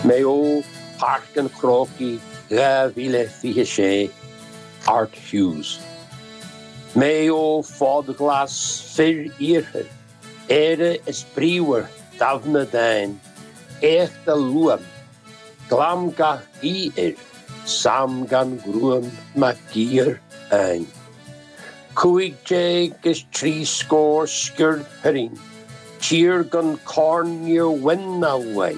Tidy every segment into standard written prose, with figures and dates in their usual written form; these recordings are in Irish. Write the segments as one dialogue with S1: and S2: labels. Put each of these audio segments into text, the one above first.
S1: Maigh Eo, Páirc an Chrócaigh 2026, Art Hughes. Maigh Eo fód ghlas fir iarthair, Éire is bríomhar damhna dáin, éacht a luaim, Glam gach gaoth air, Sam gan ghruaim Mac Giobhair Áin. 15 is 30 sciuird fireann, tír gan corn níor bhain ná bhuaigh.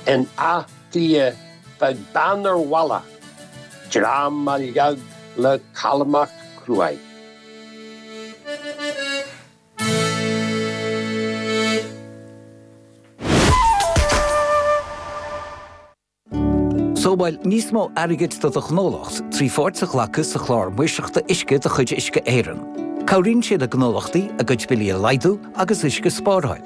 S1: In Áth Cliath bheadh bean ar mhallacht, dream a leag le calmacht cruaidh.
S2: Sábháil níos mó airgid do do ghnólacht trí pháirt a ghlacadh sa Chlár Maoirseachta Uisce de chuid Uisce Éireann. Cabhraíonn sé le gnólachtaí a gcuid billí a laghdú agus uisce a spáráil.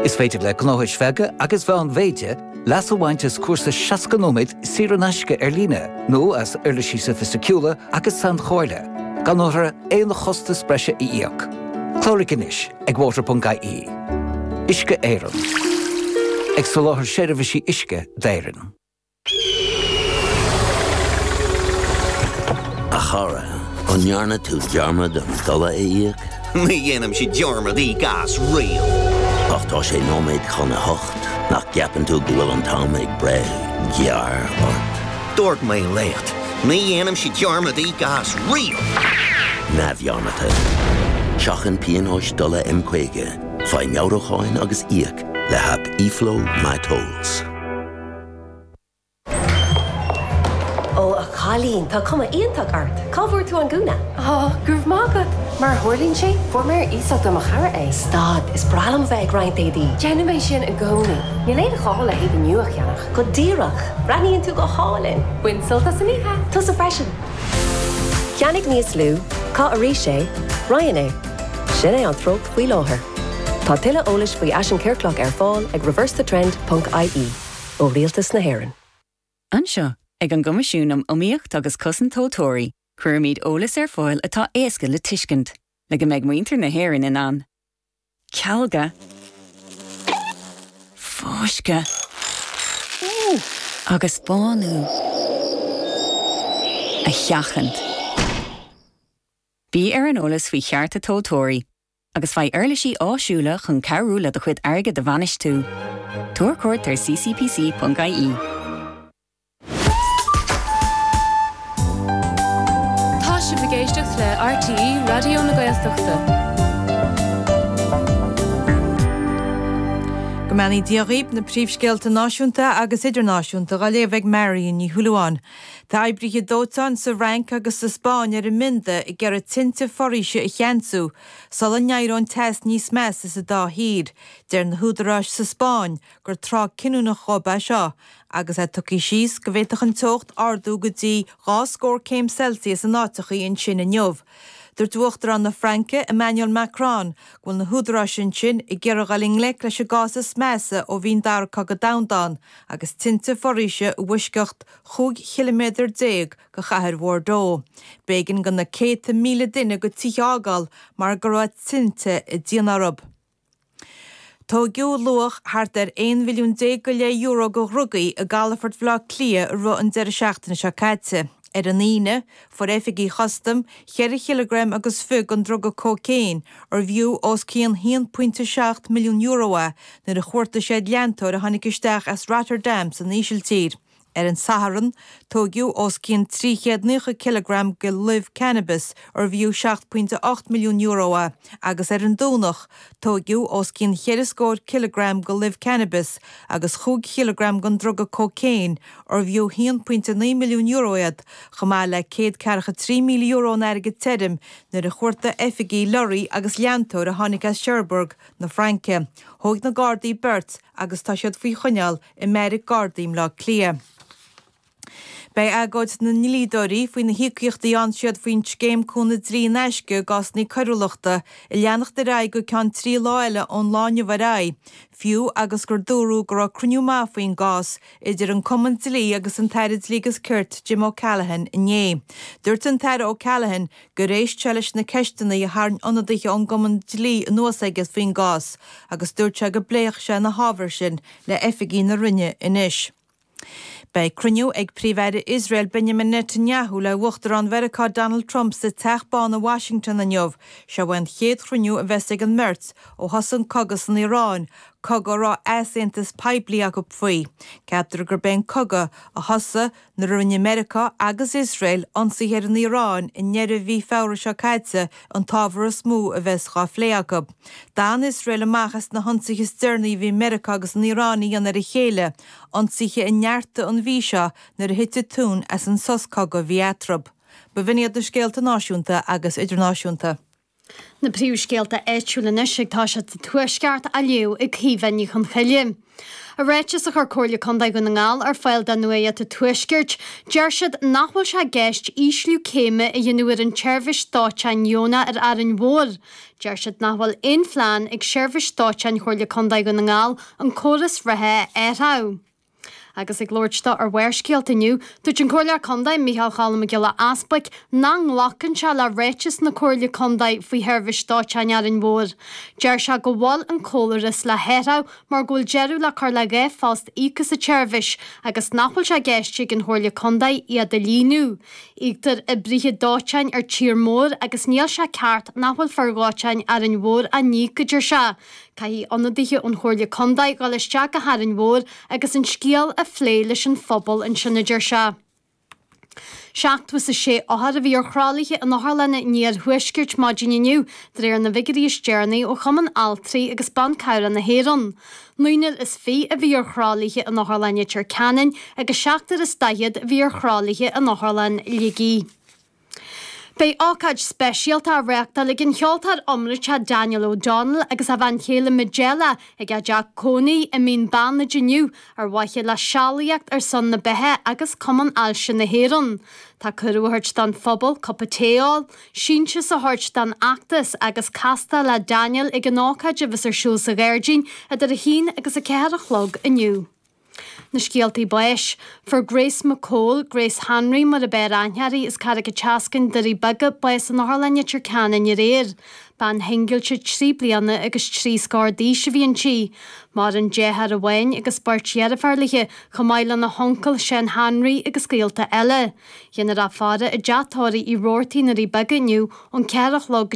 S2: Is féidir le gnóthais bheaga agus mheánmhéide leas a bhaint as cúrsa 60 nóiméad saor in aisce ar líne nó as uirlisí sofaisticiúla agus sainchomhairle, gan orthu aon chostas breise a íoc. Cláraigh anois! ag water.ie. Uisce Éireann. Ag soláthar seirbhísí uisce d'Éirinn.
S3: A chara, an ndearna tú dearmad an dola a íoc?
S4: Ní dhéanaimse dearmad íoc as riamh.
S3: Ach tá sé nóiméad chun a hocht, nach gceapann tú go bhfuil an t-am ag breith gearr ort?
S4: Dúirt mé leat, ní dhéanaimse dearmad íoc as riamh!
S3: Neamhdhearmadta. Seachain pionóis dola M50, faigh meabhrúcháin agus íoc le haip eFlow MyTolls.
S5: Ó, a chailín, tá cuma iontach ort! Cá bhfuair tú an gúna?
S6: Á, go raibh maith agat! Mar a tharlaíonn sé, fuair mé ar iasacht ó mo chara é.
S5: Stad, is breá liom a bheith ag roinnt éadaí.
S6: Déanaim é sin i gcónaí. Níl aon ghá le héadaí nua a cheannach.
S5: Go díreach! Breathnaíonn tú go hálainn!
S6: Bain sult as an oíche!
S5: Tusa freisin! Ceannaigh níos lú, caith arís é, roinn é. Sin é an treocht faoi láthair. Tá tuilleadh eolais faoi fhaisean ciorclach ar fáil ag reversethetrend ponc ie ó Rialtas na hÉireann.
S7: Anseo, ag an gCoimisiún um Iomaíocht agus Cosaint Tomhaltóirí, cuirimid eolas ar fáil atá éasca le tuiscint, le go mbeidh muintir na hÉireann in ann cealga, fáisceadh agus bánú a sheachaint. Bí ar an eolas faoi chearta tomhaltóirí agus faigh uirlisí áisiúla chun cabhrú le do chuid airgid a bhainistiú. Tabhair cuairt ar ccpc.ie.
S8: Tá sibh ag éisteacht le RTÉ Raidió na Gaeltachta.
S9: Go mbeannaí Dia dhaoib, na príomhscéalta náisiúnta agus idirnáisiúnta dhá léamh ag Marion Ní Shúilleabháin. Tá oibrithe dóiteáin sa Fhrainc agus sa Spáinn ar a mbionda ag iarraidh tinte foraoise a cheansú sula n-éireoidh an teas níos measa sa dá thír. Deir na húdaráis sa Spáinn gur tráth cinniúnach dhóibh é seo agus é tugtha síos go bhféadfadh an teocht ardú go dtí dhá scór céim Celsius in áiteachaí ansin inniu. Dúirt Uachtarán na Fraince, Emmanuel Macron, go bhfuil na húdaráis ansin ag iarraidh dul i ngleic leis an gcás is measa ó bhí an Dara Cogadh Domhanda ann agus tinte foraoise i bhfoisceacht 15 chiliméadar de chathair Bhordeaux. B'éigean do na céadta míle duine a gcuid tithe a fhágáil mar go raibh tinte ag déanamh orthu. Tóigeadh luach thart ar 11 mhilliún go leith euro de dhrugaí i gcalafort Bhaile Átha Cliath i rith an deireadh seachtaine seo caite. Ar an Aoine, fuair oifigigh chustaim cheithre chileagram agus fiche den druga cócaon, arbh fhiú os cionn €1.7 milliún é, nuair a chuartaigh siad leantóir a tháinig isteach as Rotterdam san Ísiltír. Ar an Satharn, tóigeadh os cionn 390 cileagram de luibh cannabis, arbh fhiú €7.8 milliún é, agus ar an Domhnach, tóigeadh os cionn cheithre scór cileagram de luibh cannabis agus chúig chileagram den druga cócaon, arbh fhiú €1.9 milliún iad, chomh maith le €143,000 in airgead tirim, nuair a chuartaigh oifigigh lorraí agus leantóir a tháinig as Cherbourg na Fraince. Thóig na Gardaí beirt agus tá siad faoi choinneáil i mbeairic Gardaí i mBleá Cliath. Beidh agóid na ndlíodóirí faoi na híocaíochtaí a fhaigheann siad faoin scéim cúnamh dlí in aisce i gcásanna coiriúlachta ag leanacht ar aghaidh go ceann 3 lá eile ón lá inniu ar aghaidh, fiú agus gur dúradh go raibh cruinniú maith faoin gcás idir an Cumann Dlí agus an tAire Dlí agus Cirt Jim O'Callaghan inné. Dúirt an tAire O'Callaghan gur éist sé leis na ceisteanna a tharraing ionadaithe ón gCumann Dlí anuas aige faoin gcás agus dúirt sé go bpléifeadh sé na hábhair sin le oifigigh na Roinne anois. Beidh cruinniú ag Príomh-Aire Iosrael Benjamin Netanyahu le Uachtarán Mheiriceá Donald Trump sa Teach Bán i Washington inniu. Seo é an chéad chruinniú a bheas ag an mbeirt ó thosaigh an cogadh san Iaráin, cogadh a raibh easaontas poiblí acu faoi. Ceaptar gurb é an cogadh a thosaigh nuair a rinne Meiriceá agus Iosrael ionsaithe ar an Iaráin i ndeireadh mhí Feabhra seo caite an t-ábhar is mó a bheas dhá phlé acu. D'fhan Iosrael amach as na hionsaithe is deireanaí a bhí Meiriceá agus an Iaráin a dhéanamh ar a chéile, ionsaithe a neartaigh an mhí seo nuair a thit an tóin as an sos cogaidh a bhí eatarthu. B'in iad na scéalta náisiúnta agus idirnáisiúnta.
S10: Na príomhscéalta áitiúla anois ag toiseacht sa Tuaisceart á léamh ag Caoimhe Ní Chonchoille. I ráiteas a chuir Comhairle Contae Dhún na nGall ar fáil do Nuacht an Tuaiscirt, deir siad nach bhfuil sé i gceist ísliú céime a dhéanamh ar an tseirbhís dóiteáin dheonach ar Árainn Mhór. Deir siad nach bhfuil aon phlean ag Seirbhís Dóiteáin Chomhairle Contae Dhún na nGall an córas reatha a athrú. Agus ag labhairt dó ar Bharrscéalta inniu, dúirt an Comhairleoir Contae Micheál Cholm Mac Giolla Easbuic nach nglacann sé le ráiteas na Comhairle Contae faoi sheirbhís dóiteáin Árainn Mhór. Deir sé go bhfuil an córas le hathrú mar go bhfuil deireadh le cur le 2 phost íoctha sa tseirbhís agus nach bhfuil sé i gceist ag an Chomhairle Contae iad a líonadh. Íoctar oibrithe dóiteáin ar tír mór agus níl sé ceart nach bhfuil fir dhóiteáin Árainn Mhór á n-íoc, a deir sé. Caithfidh ionadaithe ón Chomhairle Contae dhul isteach go hÁrainn Mhór agus an scéal a phlé leis an phobal ansin, a deir sé. 76 othar a bhí ar thralaithe in otharlanna an iarthuaiscirt maidin inniu, de réir na bhfigiúirí is deireanaí ó Chumann Altraí agus Ban Cabhrach na hÉireann. Naonúr is 20 a bhí ar thralaithe in Otharlann Leitir Ceanainn agus seachtar is daichead a bhí ar thralaithe in Otharlann Shligigh. Beidh ócáid speisialta á reáchtáil ag an cheoltóir iomráiteach Daniel O'Donnell agus a bhean chéile Majella ag a dteach cónaí i Mín Bannaid inniu ar mhaithe le Sealaíocht ar son na Beatha agus Cumann Ailse na hÉireann. Tá cuireadh á thabhairt don phobal cupa tae a ól, síntiús a thabhairt don fheachtas agus castáil le Daniel ag an ócáid a bheas ar siúl sa ghairdín idir 1 agus 4 a chlog inniu. Na scéaltaí báis. Fuair Grace McCole, Grace Hanraí mar ab fhearr aithne uirthi, as Carraig an tSeascainn, Doirí Beaga, bás in Otharlann Leitir Ceanainn aréir. Bean shingillte trí bliana agus trí scór d'aois a bhí inti. Maireann deartháir amháin agus beirt dheirféar léi, chomh maith lena huncail Seán Hanraí agus gaolta eile. Dhéanfar í a fhaire i dteach tórraimh Uí Robhartaigh i nDoirí Beaga inniu ón 4 a chlog go.